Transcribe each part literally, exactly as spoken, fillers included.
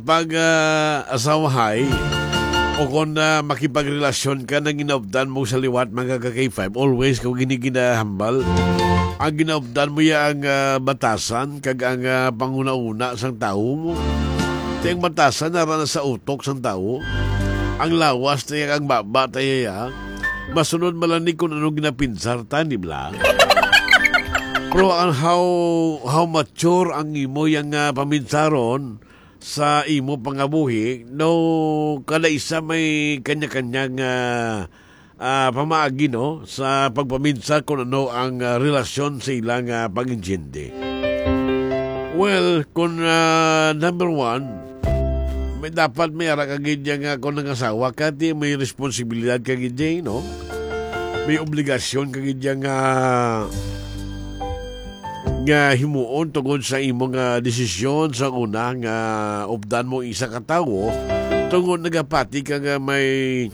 pag, ah, asawahay o kon, ah, makipagrelasyon ka, nang ginaupdan mo sa liwat, mga ka-K five, always ko gini ginahambal. Ang ginaupdan mo ya ang, ah, batasan kag ang, ah, panguna-una sang tawo mo. Ti ang batasan nara na sa utok sang tawo. Ang lawas tayo, ang baba tayo ya. Masunod malani kung ano ginapinsar ta, di bala? Pero ang how, how mature ang imo yang, ah, paminsaron, sa imo pangabuhi, no, kada isa may kanya-kanya nga, ah, pamaagi, no, sa pagpaminsar kung ano ang, ah, relasyon sa ilang, ah, pag-intindi. Well, kung, ah, number one, may dapat may ara ka gid ya nga kung nangasawa ka, ti may responsibilidad ka gid ya, no? May obligasyon ka gid ya nga nga himuon tungod sa imo nga desisyon sa una nga updan mo isa ka tawo tungod nagapati ka nga may,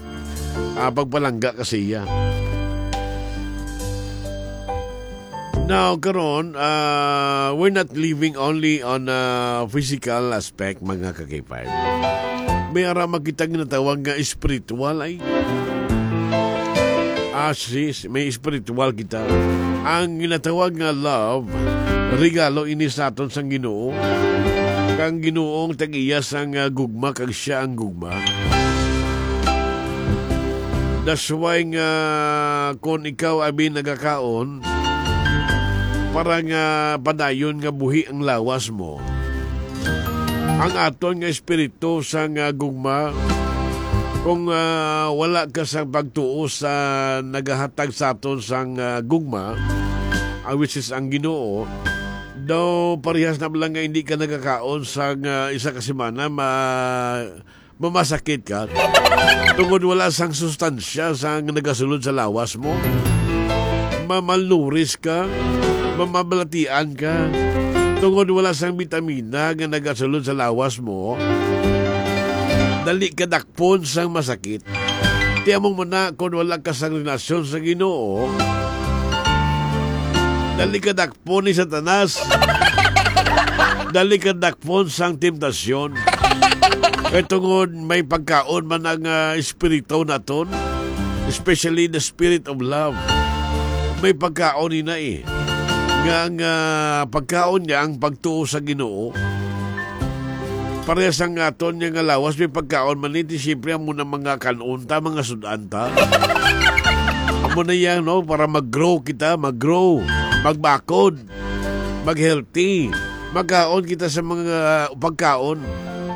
ah, pagpalangga ka sa iya. Now, karon, ah, we're not living only on a physical aspect, mga ka-K five. May ara makita ginatawag nga spiritual ay. Ah, sis, may spiritual kita. Ang ginatawag nga love, regalo ini sa aton sang Ginoo. Kang Ginoo ang tag-iya sang, ah, gugma, kag siya ang gugma. That's why nga kung ikaw abi nagakaon, para nga padayon nga buhi ang lawas mo, ang aton nga espiritu sang, ah, gugma, kung, ah, wala ka sang pagtuo sa nagahatag sa aton sang, ah, gugma, ah, which is ang Ginoo, daw parehas na lang nga hindi ka nagakaon sang, ah, isa ka semana, ma-, mamasakit ka. Tungod wala sang sustansya sang nagasulod sa lawas mo. Mamalnuris ka, mamabalatian ka. Tungod wala sang bitamina nga nagasulod sa lawas mo, dali ka dakpon sang masakit. Ti amo man na, kon wala ka sang relasyon sa Ginoo, dali ka dakpon ni Satanas. Dali ka dakpon sang temptasyon. Kay tungod may pagkaon man ang, ah, espiritu naton, especially the spirit of love. May pagkaon ina, eh. Nga ang, ah, pagkaon niya ang pagtuo sa Ginoo. Parehas ang aton niya nga lawas, may pagkaon man iti, siyempre, amo na mga kan-on ta, mga sud-an ta. Amo na yan, no? Para mag-grow kita, mag-grow, magbakod, mag-healthy. Magkaon kita sa mga pagkaon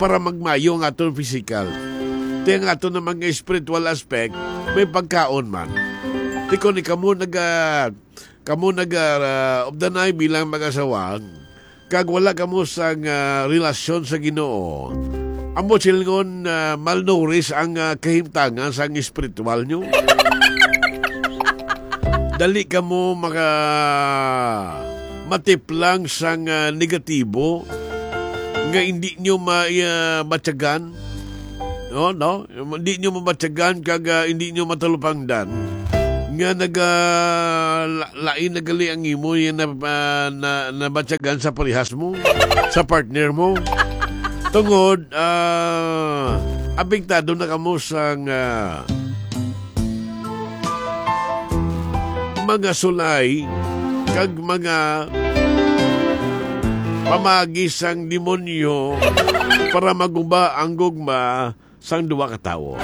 para magmayo ang aton physical. Ti ang aton naman nga spiritual aspect, may pagkaon man. Ti kon kamo naga-, kamo naga-, ah, updanay bilang mag-asawa, kag wala kamo sang, ah, relasyon sa Ginoo, amo silingon, ah, malnourished ang, ah, kahimtangan sang espiritual nyo. Dali kamo maka-, matiplang sang, ah, negatibo nga hindi nyo ma-, ah, matyagan. No, no? Hindi nyo mabatyagan kag, ah, hindi nyo matalupangdan nga naga-, la-, lain na gali ang imo yan na, ah, na, nabatyagan sa parehas mo, sa partner mo. Tungod, ah, apektado na kamo sang, ah, mga sulay kag mga pamagi sang demonyo para maguba ang gugma sang duha ka tawo.